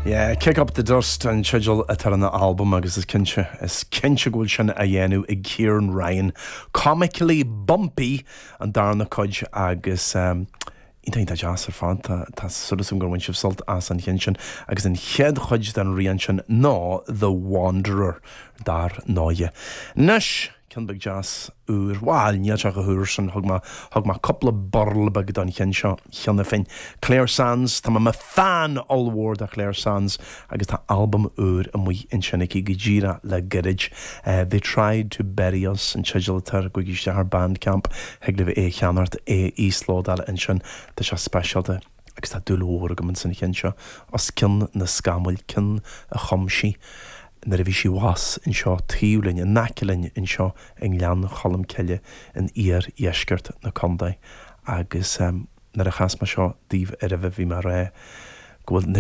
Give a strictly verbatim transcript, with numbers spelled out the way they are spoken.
Yeah, Kick Up the Dust an teideal atá ar an albam agus is cinnte is cinnte go bhfuil sin á dhéanamh ag Kieran Ryan. Comically Bumpy an darna cuid agus um, Iontach deas ar fad tá súil agam gur bhain sibh sult as an cheann sin agus an chéad chuid den rian sin ná The Wanderer dar ndóigh. Anois ceann beag deas úr bhuel níl sé chomh húr sin thug thug mé cúpla burl beag don cheann seo cheana féin. Clare Sands Tá mé fan ollmhór de Clare Sands agus tá albam úr amuigh ansin aici go díreach le gairid. Uh, they tried to bury us an teideal atá air gabhaigí isteach ar Bandcamp thig libh é cheannacht é íoslódáil ansin tá sé speisialta agus tá dúil mhór agam san cheann seo os cionn na scamaill ceann a chum sí. nuair a bhí sí abhus anseo taobh linn in aice linn anseo i nGleann Cholm Cille in iardheisceart na contae agus um, nuair a chas mé seo daoibh ar bhí mar é go bhfuil na